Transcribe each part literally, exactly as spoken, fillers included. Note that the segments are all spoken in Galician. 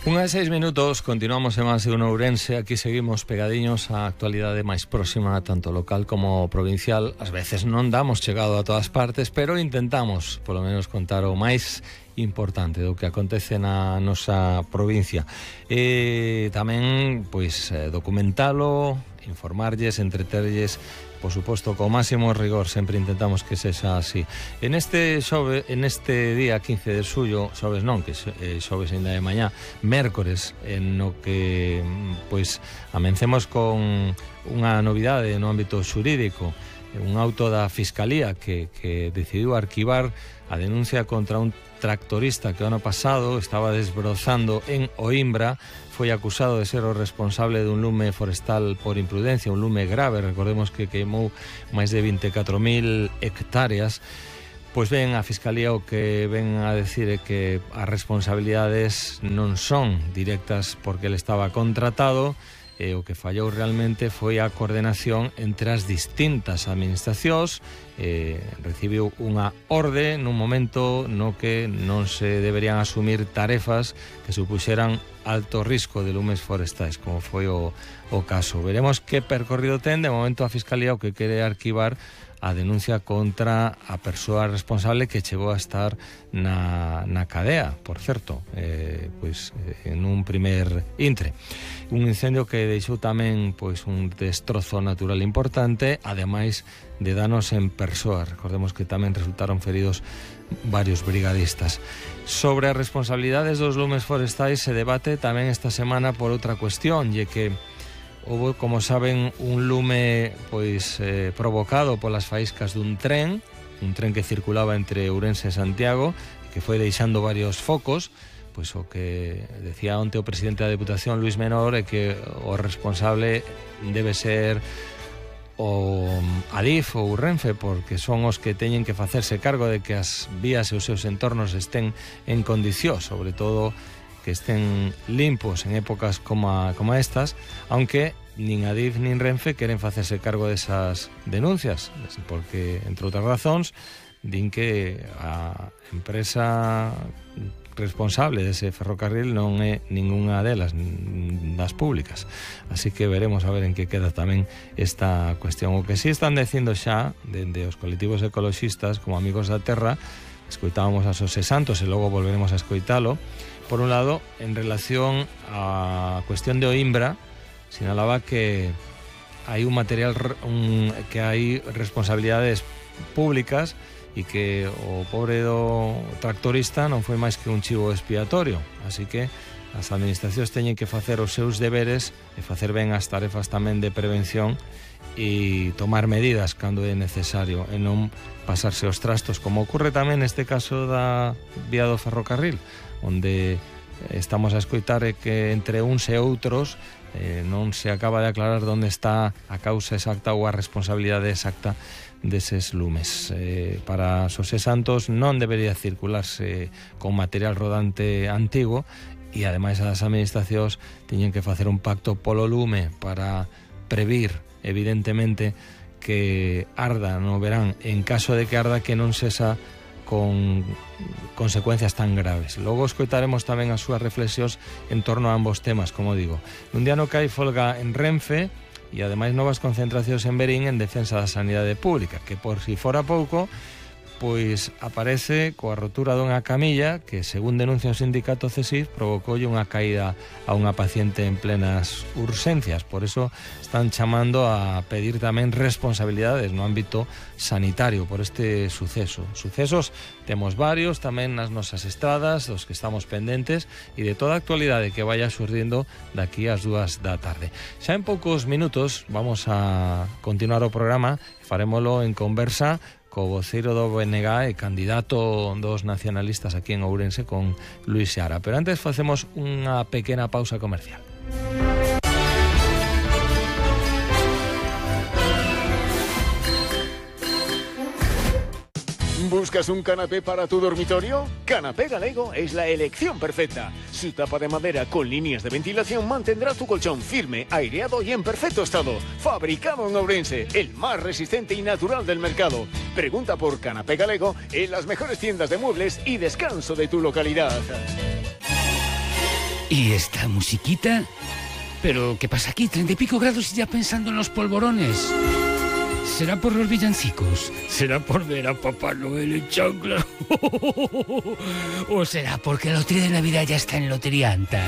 Unha de seis minutos, continuamos en Más de Uno Ourense. Aquí seguimos pegadiños á actualidade máis próxima, tanto local como provincial. Ás veces non damos chegado a todas partes, pero intentamos, polo menos, contar o máis importante do que acontece na nosa provincia. E tamén, pois, documentalo, informarlles, entreterlles, por suposto, co máximo rigor. Sempre intentamos que sexa así. En este xove, en este día quince de xullo, xoves non, que é xoves ainda de mañá, mércores, en no que pois amencemos con unha novidade no ámbito xurídico, un auto da Fiscalía que, que decidiu arquivar a denuncia contra un tractorista que o ano pasado estaba desbrozando en Oimbra. Foi acusado de ser o responsable dun lume forestal por imprudencia, un lume grave. Recordemos que queimou máis de vinte e catro mil hectáreas. Pois ben, a Fiscalía o que ven a decir é que as responsabilidades non son directas porque ele estaba contratado, e o que fallou realmente foi a coordenación entre as distintas administracións. Eh, recibiu unha orde nun momento no que non se deberían asumir tarefas que supuxeran alto risco de lumes forestais, como foi o, o caso. Veremos que percorrido ten. De momento a Fiscalía o que quere arquivar a denuncia contra a persoa responsable que chegou a estar na, na cadea, por certo, eh, pois, en un primer intre. Un incendio que deixou tamén pois, un destrozo natural importante, ademais de danos en persoas. Recordemos que tamén resultaron feridos varios brigadistas. Sobre as responsabilidades dos lumes forestais se debate tamén esta semana por outra cuestión, e que houve, como saben, un lume pois eh, provocado polas faíscas dun tren, un tren que circulaba entre Ourense e Santiago, que foi deixando varios focos. Pois o que decía onte o presidente da Deputación, Luis Menor, é que o responsable debe ser o Adif ou Renfe, porque son os que teñen que facerse cargo de que as vías e os seus entornos estén en condición, sobre todo que estén limpos en épocas como, a, como estas, aunque nin Adif nin Renfe queren facerse cargo desas denuncias, porque, entre outras razóns, din que a empresa responsable dese ferrocarril non é ningunha delas, das públicas. Así que veremos a ver en que queda tamén esta cuestión. O que sí están dicindo xa, dende os colectivos ecoloxistas, como Amigos da Terra, escoitábamos a Xosé Santos e logo volveremos a escoitalo. Por un lado, en relación á cuestión de Oimbra, sinalaba que hai un material, un, que hai responsabilidades públicas e que o pobre do tractorista non foi máis que un chivo expiatorio. Así que as administracións teñen que facer os seus deberes e facer ben as tarefas tamén de prevención e tomar medidas cando é necesario e non pasarse os trastos, como ocurre tamén neste caso da vía do ferrocarril, onde estamos a escoitar que entre uns e outros eh, non se acaba de aclarar onde está a causa exacta ou a responsabilidade exacta deses lumes. Eh, para Xosé Santos non debería circularse con material rodante antigo, e ademais as administracións teñen que facer un pacto polo lume para previr, evidentemente, que arda no verán, en caso de que arda, que non sexa con consecuencias tan graves. Logo escoitaremos tamén as súas reflexións en torno a ambos temas, como digo. Un día no que hai folga en Renfe e ademais novas concentracións en Verín en defensa da sanidade pública, que por si fora pouco, pois aparece coa rotura dunha camilla que, según denuncia o sindicato C E S I F, provocoulle unha caída a unha paciente en plenas urxencias. Por eso están chamando a pedir tamén responsabilidades no ámbito sanitario por este suceso. Sucesos temos varios tamén nas nosas estradas, dos que estamos pendentes, e de toda a actualidade que vaya surdindo daqui ás dúas da tarde. Xa en poucos minutos vamos a continuar o programa, farémolo en conversa co voceiro do B N G e candidato dos nacionalistas aquí en Ourense, con Luis Seara. Pero antes facemos unha pequena pausa comercial. ¿Buscas un canapé para tu dormitorio? Canapé Galego es la elección perfecta. Su tapa de madera con líneas de ventilación mantendrá tu colchón firme, aireado y en perfecto estado. Fabricado en Ourense, el más resistente y natural del mercado. Pregunta por Canapé Galego en las mejores tiendas de muebles y descanso de tu localidad. ¿Y esta musiquita? ¿Pero qué pasa aquí? Treinta y pico grados y ya pensando en los polvorones. ¿Será por los villancicos? ¿Será por ver a Papá Noel en chanclas? ¿O será porque la lotería de Navidad ya está en Lotería Anta?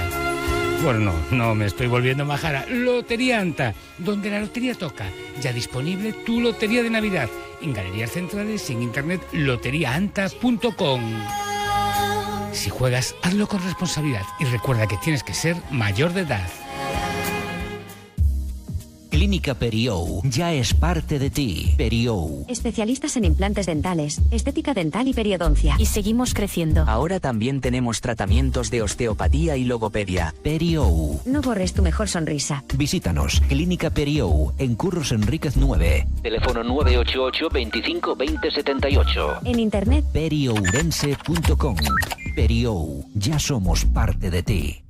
Bueno, no, no me estoy volviendo majara. Lotería Anta, donde la lotería toca. Ya disponible tu lotería de Navidad. En Galerías Centrales y en internet lotería anta punto com. Si juegas, hazlo con responsabilidad y recuerda que tienes que ser mayor de edad. Clínica Periou ya es parte de ti. Periou. Especialistas en implantes dentales, estética dental y periodoncia. Y seguimos creciendo. Ahora también tenemos tratamientos de osteopatía y logopedia. Periou. No borres tu mejor sonrisa. Visítanos. Clínica Periou en Curros Enríquez nueve. Teléfono nueve ocho ocho, veinticinco, veinte, setenta y ocho. En internet periourense punto com. Periou. Ya somos parte de ti.